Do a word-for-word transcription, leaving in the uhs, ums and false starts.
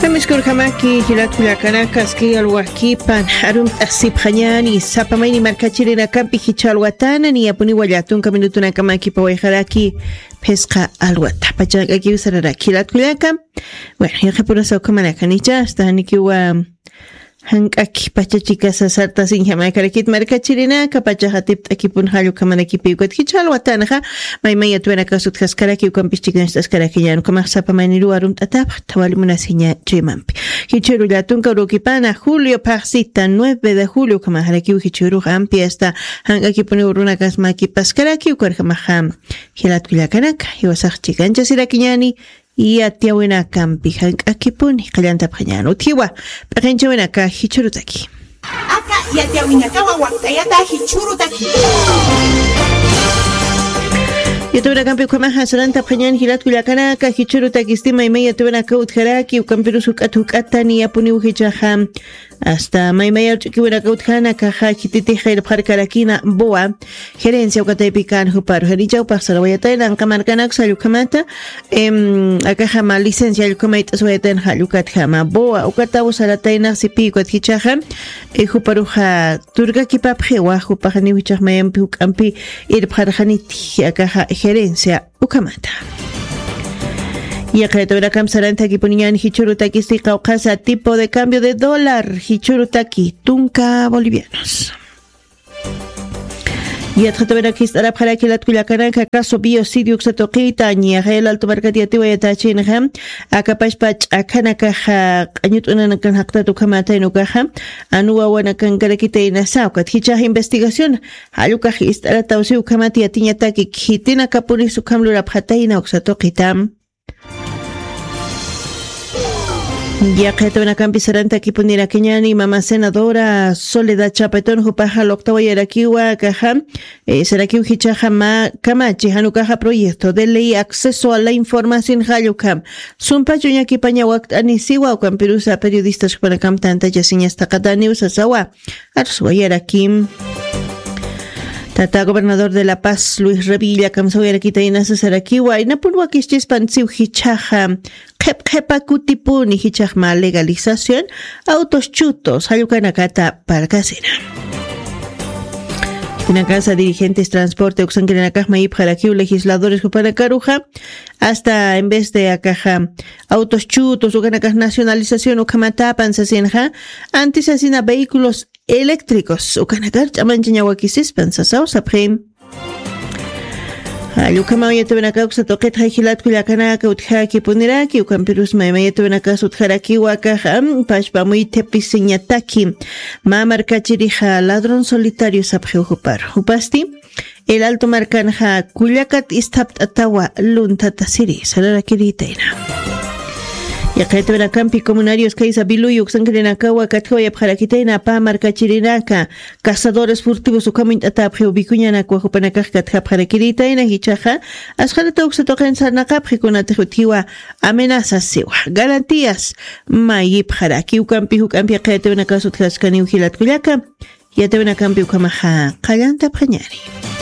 Kamiskurkamaki jilatkullakanaka aski alwakipan arumt'asipxañani sapamayni markachirinakampi jichha alwatana niyapuni wallatunka minutunakamakipa wayqaraki. Phisqa alwata pachakakiw sararaki jilatkullaka. Bueno, yaqapurasa ukhamanakanicha asta janikiwa jank'aki pachachikasa sartasiñjamakaraki markachirinaka pachaxa tipt'akipun jallukhamanakipi ukat jichha alwatanxa. Maymaya tuyanakasutjaskarakiw kampischiknacht'askarakiñan ukhamax sapamayniruwa arumt'atapxta wali munasiña chuymampi. Jichhuru llatunka urukipana julio phaxsita nueve de julio ukhamaxarakiw jichhurux ampi asta jank'akipuniw runakasmakipaskarakiw karjamaxa. Jilatkullakanaka jiwasax chikanchasirakiñani. Yatiyawinakampi jank'akipuni qallantapxañan utjiwa p'iqinchawinaka jichhurutaki. Aka yatiyawinakawa wakt'ayata jichhurutaki. Yatawinakampi ukhamaxa sarantapxañan jilatkullakanaka jichhurutakisti maymay yatawinaka utjaraki ukampirus juk'at juk'ata niyapuniw jichhaxa. Asta maymayar ch'ukiwinaka utjana kaxa khititix irpxarkarakina boa gerencia ukataypikan juparu janichawpax sarawayatayna anqamarkanak sallukhamata. Akaxama licencia allukhamayt'aswayatayna jallukatjama boa ukataw sarataynaxsipi ukat jichhaxa. Juparuxa turkakipapxiwa jupaxaniw jichhax mayampi juk'ampi irpxarxaniti akaxa gerencia ukhamata. Yaqayatawinakam sarantakipuniñan jichhurutakisti qawqhasa tipo de cambio de dólar jichhurutaki tunka bolivianos. Yatxatawinak jist'arapxaraki latkullakanaka caso biocidio uksatuqita ñaxayal altumarkat yatiwayatachinxa. Akapashpa ch'akhanakaxa q'añut'unanakan jaqtat ukhamatayna ukaxa. Anuwawanakankarakitan inasa ukat jichhax investigación jallukax ist'aratawsi ukhamat yatiñataki khitinakapunis ukham lurapxatayna uksatuqita. Yaqayatawinakampi sarantakipunirakiñani mama senadora soledad chapetón jupaxa luqtawayarakiwa kaxa. Sarakiw jichhaxa mä kamachi janukaxa proyecto de ley acceso a la información jallukam sumpach uñakipaña wakt'anisiwa ukampirusa periodistas jupanakam tantachasiñastaqataniw sasawa. Arswayarakim. Tata gobernador de la paz luis revilla kamsawayarakita inasa sarakiwa inapun wakischispan siw jichhaxa. Qhep qhepa kutipuni jichhaxma legalización autos chutos jallukanakata parkasina. Inakasa dirigentes transporte uksankirinakaxma ipxarakiw legisladores jupanakaruxa. Asta en vez de akaxa autos chutos ukanakax nacionalización ukhamatapan sasinxa. Antisasina vehículos eléctricos ukanakar ch'amanchañawakisispan sasaw sapxim. Jallukama uyatawinaka uksatuqitxa jilatkullakanaka utjakipuniraki ukampirusma ima yatawinakas utjarakiwa kaxa. Pashpa muythipisiñataki mä markachirixa ladrón solitario sapxiw juparu jupasti. El alto markanxa kullakat isthapt'atawa lunthatasiri sararakiritayna. Yaqayatawinakampi comunarios kaysa viluyu uksankirinakawa katjawayapxarakitayna pä markachirinaka. Cazadores furtivos ukhamuñt'atapxiw vikuñanakwa jupanakax katjapxarakiritayna jichhaxa. Asqanata uksatuqin sarnaqapxi kunatix utjiwa amenazasiwa garantías. Mayipxaraki ukampi juk'ampi yaqayatawinakas utjaskaniw jilatkullaka. Yatawinakampi ukhamaxa qallantapxañari.